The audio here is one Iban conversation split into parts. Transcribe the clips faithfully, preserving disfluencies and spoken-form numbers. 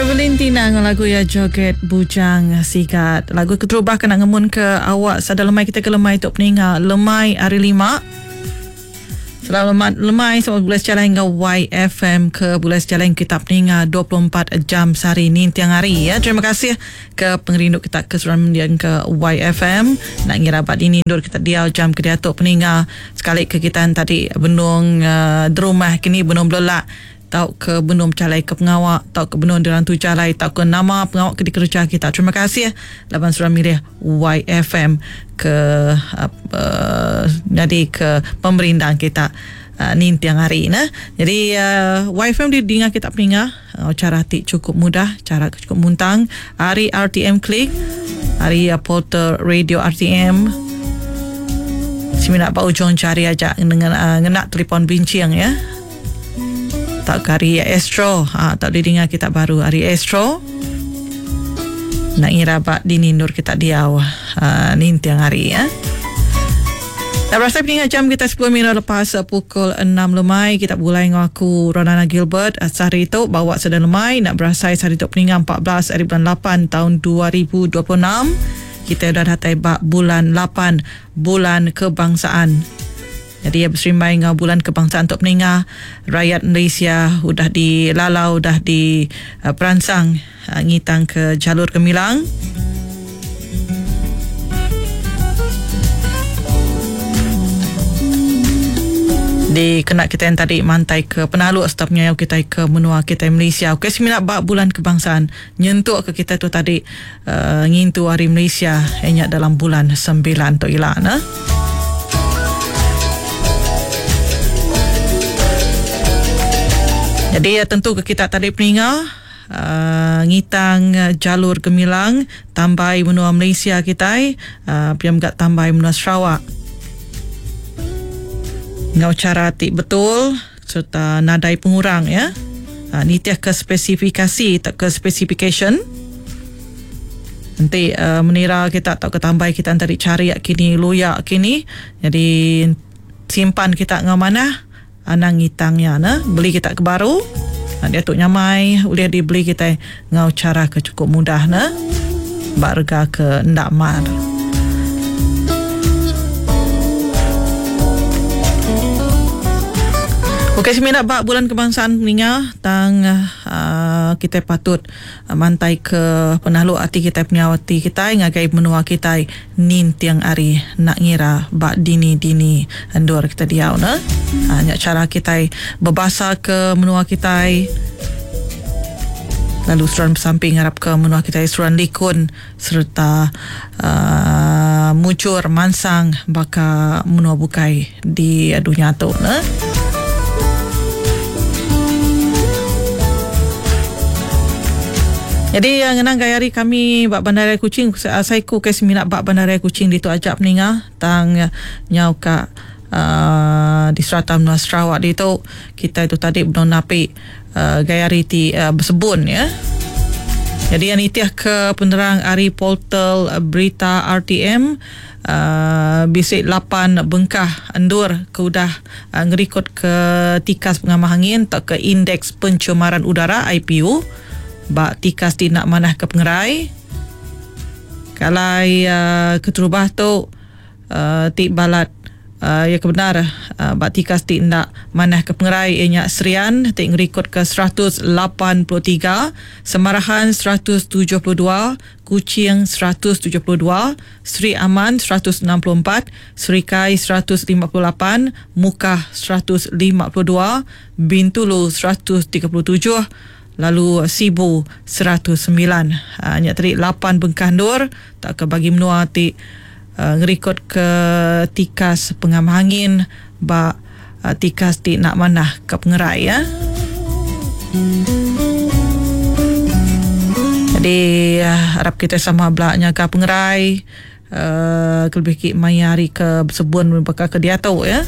Evelyn Tina dengan lagu ya Joget Bujang Sigat. Lagu keterubah kena ngemun ke awak sada lemai kita ke lemai tok peninga lemai hari lima. Selamat lemai selamat bulan sejalan hingga Y F M ke bulan sejalan kita peninga dua puluh empat jam sehari ni tiang hari ya. Terima kasih ke pengerindu kita ke seluruh mendiang ke Y F M. Nak ngira abad ini ndur kita diau jam ke diatuk peninga sekali ke kita tadi benung uh, di rumah kini benung belelak tau ke benung calai ke pengawak tau ke benung dirantu jalai tau ke nama pengawak ke dikerja kita. Terima kasih laban surah milih Y F M ke uh, uh, jadi ke pemerintah kita uh, nintiang hari nah. Jadi uh, Y F M di dengar kita peninga uh, cara ti cukup mudah, cara cukup muntang. Hari R T M Klik, hari uh, portal radio R T M. Siminak pak ujung cari aja dengan uh, ngenak telefon bincang ya. Tak ke hari Astro, ha, tak boleh dengar kita baru hari Astro. Nak ngira bak dini nur kita diau uh, nintiang hari ya. Tak berasa peningat jam kita sepuluh minit lepas pukul enam lemai kita mulai dengan aku Ronana Gilbert sehari itu bawa sedang lemai nak berasai sehari itu peningat empat belas hari bulan lapan tahun dua ribu dua puluh enam. Kita dah datai bak bulan lapan bulan kebangsaan. Jadi ya berserimbai dengan bulan kebangsaan untuk peningah rakyat Malaysia udah dilalau udah di uh, peransang uh, ngitang ke jalur gemilang. Di kena kita yang tadi mantai ke penaluk serta penyayau kita ke menua kita Malaysia. Okey sembilan bab bulan kebangsaan nyentuk ke kita tu tadi uh, ngintu hari Malaysia hanya dalam bulan sembilan tu ilah nah. Jadi ya, tentu ke kita tadi peninga uh, ngitang uh, jalur gemilang tambai menua Malaysia kita uh, piam gak tambai menua Sarawak. Ngau cara tik betul serta nadai pengurang ya. Uh, nitiah ke spesifikasi tak ke specification. Nanti uh, menira kita tak ke tambai kita tadi cari kini luyak kini. Jadi simpan kita ngau mana anang ngitangnya nah beli kita ke baru nah, dia tu nyamai boleh dibeli kita ngau cara ke cukup mudah nah barga ke ndak mar. Okey semina bab bulan kebangsaan peninga tang uh, kita patut uh, mantai ke penahluk hati kita penyawati kita ngagai menua kita nintiang ari nak ngira bab dini-dini endur kita diau nah. Ha, nyak cara kita berbahasa ke menua kita lalu suran bersamping harap ke menua kita suran likun serta uh, mucur mansang baka menua bukai di dunia tu nah. Jadi yang ngenang gaya hari kami bak bandaraya Kuching saya ku ke seminat bak bandaraya Kuching di tu ajak peninga tang nyau ka uh, di serata menua Sarawak di tu kita itu tadi belum napi uh, gaya hari ti uh, bersebun ya. Jadi yang itiah ke penerang hari portal berita R T M uh, bisik lapan bengkah endur ke udah uh, ngerikut ke tikas pengamah angin atau ke indeks pencemaran udara I P U bak tikas ti nak manah ke pengerai. Kalau uh, keterubah tu uh, ti balat uh, ya kebenar uh, bak tikas ti nak manah ke pengerai ianya Serian ti ngerikut ke seratus lapan puluh tiga, Semarahan seratus tujuh puluh dua, Kuching seratus tujuh puluh dua, Seri Aman seratus enam puluh empat, Serikai seratus lima puluh lapan, Mukah seratus lima puluh dua, Bintulu seratus tiga puluh tujuh, lalu Sibu seratus sembilan. Ha, nyak tadi lapan bengkah ndur tak ke bagi menua ti uh, ngerikut ke tikas pengamah angin ba uh, tikas ti nak manah ke pengerai ya. Jadi uh, harap kita sama belak nyaga pengerai uh, kelebih ki maya hari ke bersebun bakal ke diatu ya.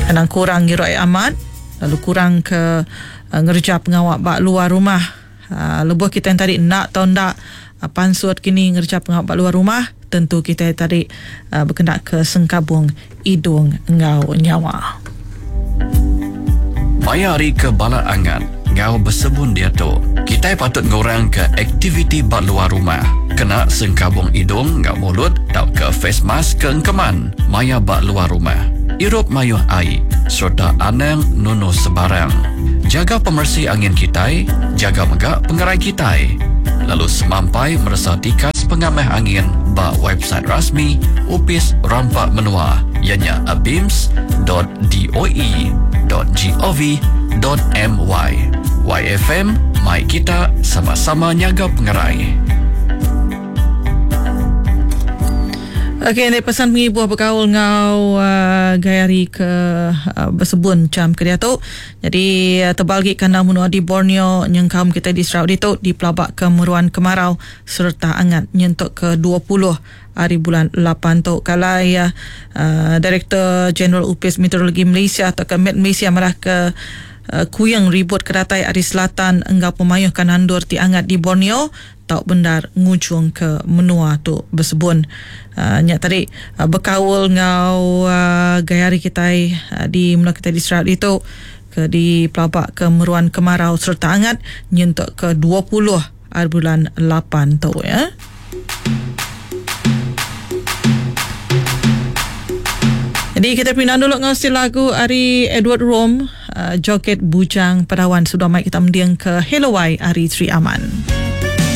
Anang kurang ngiru air amat lalu kurang ke uh, ngerja pengawak bak luar rumah. Uh, lebuh kita yang tadi nak atau ndak uh, pansut kini ngerja pengawak bak luar rumah tentu kita yang tadi uh, berkendak ke sengkabung hidung ngau nyawa. Maya hari ke balat angat enggau besebun diatu, kitai patut ngurangka aktiviti ba luar rumah. Kena sengkabung idung enggau mulut tauka face mask ke engkeman maya ba luar rumah. Irup mayuh ai sereta anang nunu sebarang. Jaga pemeresi angin kitai, jaga mega pengerai kitai. Lalu semampai meresa tikas pengamah angin ba website rasmi Opis Rampa Menua ianya abims dot doe dot gov dot my. Y F M, mai kita sama-sama nyaga pengerai. Okey, ni pesan pengibuh berkaul ngau uh, gaya hari ke uh, bersebun jam ke diatu. Jadi uh, tebal gi kandang menua di Borneo nyengkaum kita di Sarawak ditu dipelabak ke meruan kemarau serta angat nyentuk ke dua puluh hari bulan lapan tu. Kalai uh, Direktur Jeneral Upis Meteorologi Malaysia atau ke Met Malaysia marah ke uh, kuyang ribut kedatai ari selatan enggau pemayuh kanandur ti angat di Borneo tau bendar ngujung ke menua tu bersebun. Uh, nyak tadi uh, berkaul ngau uh, gaya hari kita uh, di menua kita di Sarawak itu ke di pelabak ke meruan kemarau serta angat nyentuk ke dua puluh hari bulan lapan tu ya. Jadi kita pindah dulu ngau lagu ari Edward Rom, uh, Joget Bujang Padawan sudah mai kita mendiang ke Hello Y ari Sri Aman.